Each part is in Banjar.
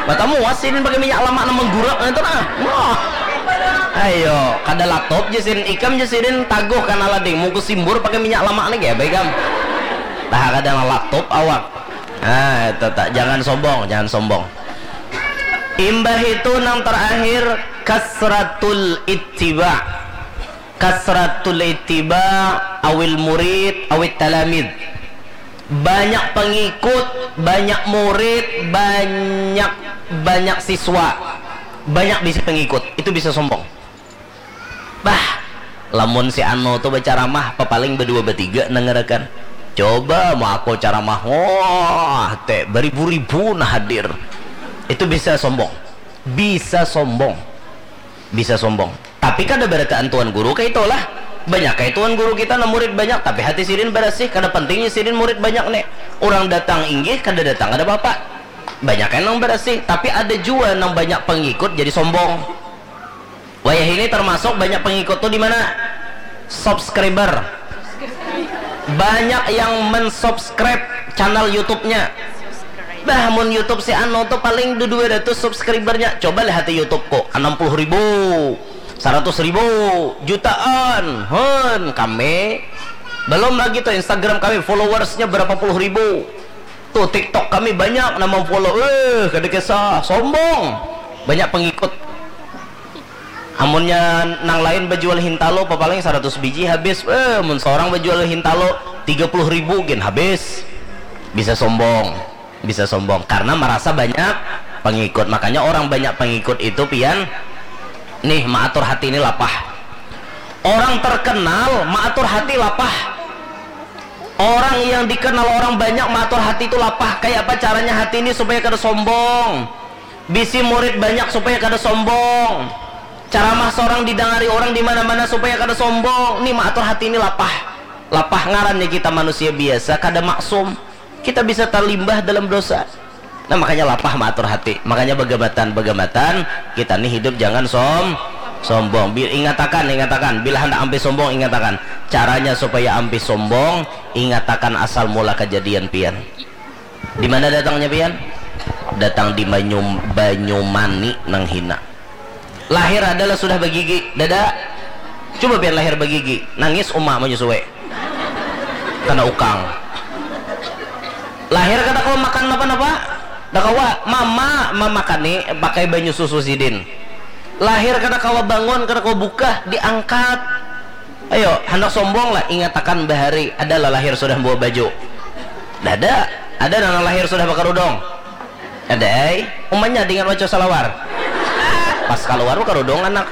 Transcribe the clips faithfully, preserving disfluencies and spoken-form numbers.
Matamu wasin pakai minyak lamak nang menggurak itu nah. Wah. Ayo, kada latop je sin ikam je sidin taguh kana lading mungkus simbur pakai minyak lamak ni gaya baikam. Tah kada nang latop awak. Ah, itu tak jangan sombong, jangan sombong. Imbah itu nang terakhir kasratul ittiba. Kasratul ittiba awil murid awit talamid. Banyak pengikut, banyak murid, banyak banyak siswa, banyak bisi pengikut, itu bisa sombong. Bah, lamun si anu tu bacaramah papaling badua batiga nangarakan. Coba mau aku caramah, wah, te baribu-ribu nah hadir. Itu bisa sombong. Bisa sombong. Bisa sombong. Tapi kada barataan tuan guru kaitulah. Banyak kayak tuan guru kita nah murid banyak tapi hati sidin barasih, kada pentingnya sidin murid banyak nih. Orang datang inggih, kada datang kada apa-apa. Banyak yang nang barasih, tapi ada jua nang banyak pengikut jadi sombong. Wayah ini termasuk banyak pengikut tuh di mana? Subscriber. Banyak yang mensubscribe channel YouTube-nya. Bah, mun YouTube si Ano tuh paling du dua ratus subscribernya. Coba lihat di YouTube kok, enam puluh ribu, seratus ribu, jutaan. Hun, kami belum lagi tuh Instagram kami followersnya berapa puluh ribu. Tuh TikTok kami banyak nama follow. Eh, kada kisah, sombong. Banyak pengikut. Amunnya nang lain bajual hintalo papaling saratus biji habis, eh, mun seorang bajual hintalo tiga puluh ribu gin habis. Bisa sombong, bisa sombong karena merasa banyak pengikut. Makanya orang banyak pengikut itu pian nih maatur hati ini lapah. Orang terkenal maatur hati lapah. Orang yang dikenal orang banyak maatur hati itu lapah. Kayak apa caranya hati ini supaya kada sombong? Bisi murid banyak supaya kada sombong. Caramah seorang didangari orang di mana-mana supaya kada sombong. Ni maatur hati ini lapah. Lapah ngarannya kita manusia biasa, kada maksum. Kita bisa terlimbah dalam dosa. Nah, makanya lapah maatur hati. Makanya bagamatan, bagamatan kita ni hidup jangan som sombong. Bil ingatakan, ingatakan. Bila hendak ampih sombong, ingatakan. Caranya supaya ampih sombong, ingatakan asal mula kejadian pian. Di mana datangnya pian? Datang di Banyum Banyumani nang hina. Lahir adalah sudah bagigi, dada. Coba pian lahir bagigi, nangis uma menyusui. Kena ukang. Lahir kada kawa makan napa-napa. Kada kawa, mama mamakani pakai banyu susu sidin. Lahir kada kawa bangun, kada kawa bukah, diangkat. Ayo, handak sombong lah, ingatakan bahari ada lah lahir sudah bawa baju. Dada, ada nang lahir sudah bakarudung. Ada ai, umanya dengan waco salawar. Pas kaluar bakarudung anak.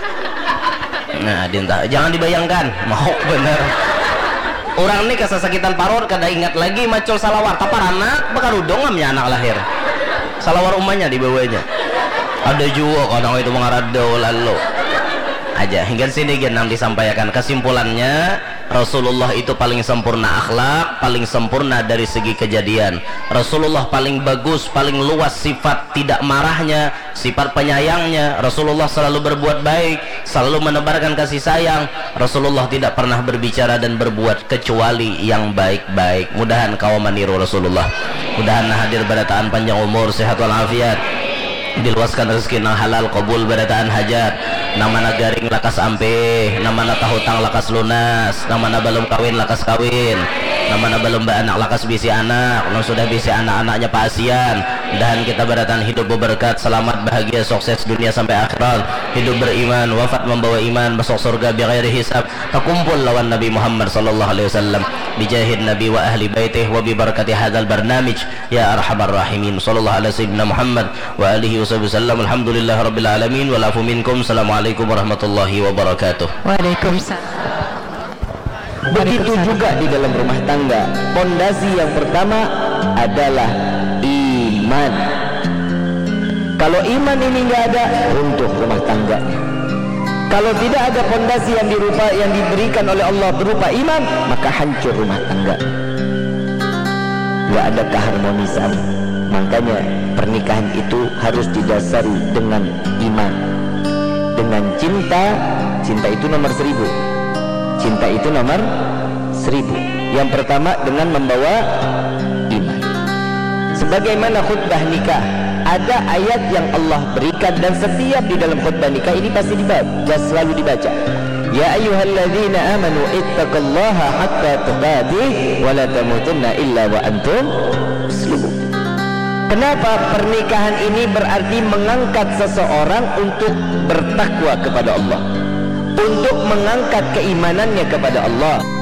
Nah, dinta, jangan dibayangkan, mau bener. Orang ni kasasakitan parut kada ingat lagi macul salawar, tapar anak bakarudung amnya anak lahir. Salawar umanya dibawanya. Ada jua kadang itu mangaradau lalu aja. Hingga sini gin nang disampaikan. Kesimpulannya, Rasulullah itu paling sempurna akhlak, paling sempurna dari segi kejadian. Rasulullah paling bagus, paling luas sifat tidak marahnya, sifat penyayangnya. Rasulullah selalu berbuat baik, selalu menebarkan kasih sayang. Rasulullah tidak pernah berbicara dan berbuat kecuali yang baik-baik. Mudahan kawa maniru Rasulullah. Mudahan nah hadir barataan panjang umur, sehat walafiat. Diluaskan rezeki nang halal, kabul barataan hajat. Nang mana garing lakas ampih, nang mana tahutang lakas lunas, nang mana balum kawin lakas kawin, nang mana balum baanak lakas bisi anak, nang sudah bisi anak-anaknya paasian. Mudahan kita barataan hidup beberkat, selamat, bahagia, sukses dunia sampai akhirat, hidup beriman, wafat membawa iman, masuk surga bighairi hisab, takumpul lawan Nabi Muhammad sallallahu alaihi wasallam. Bijahin Nabi wa ahli baitih wa bibarakati hadzal barnamij. Ya arhamar rahimin. Sallallahu ala sayyidina Muhammad wa alihi wa sahbihi wasallam. Alhamdulillah rabbil alamin. Wal afu minkum. Assalamualaikum warahmatullahi wabarakatuh. Waalaikumsalam. Begitu juga di dalam rumah tangga. Pondasi yang pertama adalah iman. Kalau iman ini nggak ada, runtuh rumah tangganya. Kalau tidak ada pondasi yang dirupa yang diberikan oleh Allah berupa iman, maka hancur rumah tangga. Nggak ada keharmonisan. Makanya pernikahan itu harus didasari dengan iman. Dengan cinta, cinta itu nomor seribu. Cinta itu nomor seribu. Yang pertama dengan membawa iman. Sebagaimana khutbah nikah, Ada ayat yang Allah berikan dan setiap di dalam khutbah nikah ini pasti dibaca, selalu dibaca. Ya ayyuhalladzina amanu ittaqullaha haqqa tuqatih wa la tamutunna illa wa antum muslimun. Kenapa pernikahan ini berarti mengangkat seseorang untuk bertakwa kepada Allah, untuk mengangkat keimanannya kepada Allah?